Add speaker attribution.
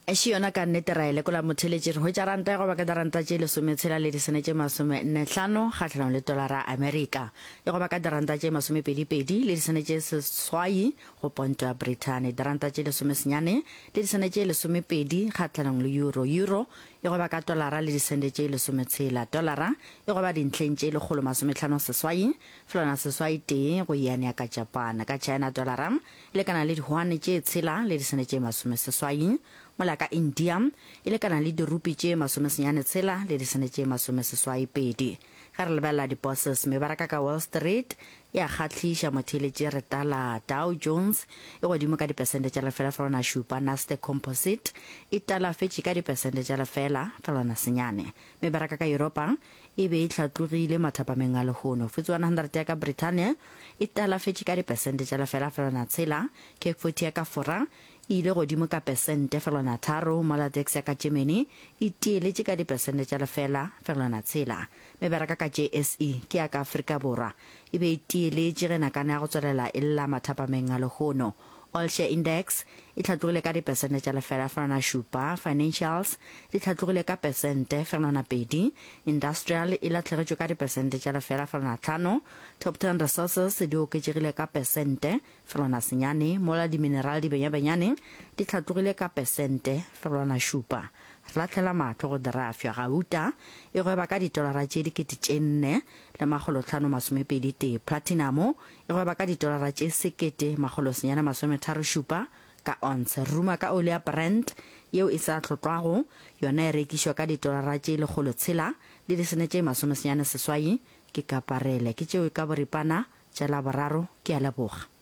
Speaker 1: Še yona ka nnete ra e lekola motheeletši. Re hwetša ranta ya go ba ka diranta tše lesometshela le disene tše masomennehlano kgahlanong le tolara ya Amerika. E go ba ka diranta tše masomepedipedi le disene tše seswai go ponto ya Brithani. Diranta tše lesomesenyane le disene tše lesomepedi kgahlanong le euro. Euro e go ba ka tolara le disente tše lesometshela. Tolara e go ba dintlheng tše lekgolo masomehlano seswai felwana seswai tee go yuan ya ka Japan. Ka China tolara e lekana le dihwane tše tshela le disene tše masomeseswai, mola ka India e lekana le dirupi tše masomesenyane tshela le disene tše masomeseswai pedi. Ge re lebelela di-bourses, mebaraka ka Wall Street e a kgahliša, motheeletši re tala Dow Jones e godimo ka dipesente tša lefela felwana šupa, Nasdaq Composite e talafetše ka dipesente tša lefela felwana senyane. Mebaraka ka Yuropa e be e hlatlogile mathapameng a lehono. FTSE 100 ya ka Brithania e talafetše ka dipesente tša lefela felwana tshela, CAC 40 ya ka Fora e ile godimo ka pesente felwana tharo, mola DAX ya ka Germany e tieletše ka dipesente tša lefela felwana tshela. Mebaraka ka JSE ke ya ka Afrika Borwa e be e tieletše ge nakana ya go tswelela e lla mathapameng a lehono. All Share Index e hlatlogile ka dipesente tša lefela fegelwana šupa, Financials di hlatlogile ka pesente fegelwana pedi, Industrial e lahlegetšwe ka dipesente tša lefela fegelwana tlhano, Top Ten Resources di oketšegile ka pesente fegelwana senyane, mola dimineral di benyabenyane di hlatlogile ka pesente fegelwana šupa. Re lahlela mahlo go dirafša, gauta e gweba ka ditolara tše 4000 le makgolotlhano masomepedi tee, platinamo E gweba ka ditolara tše 1937 ka onse. Ruma ka oli ya Brent yeo e sa hlotlwago, yona e rekišwa ka ditolara tše 106 le disene tše 98 ke kaparele. Ke tšeo ka boripana tša Laboraro. Ke a leboga.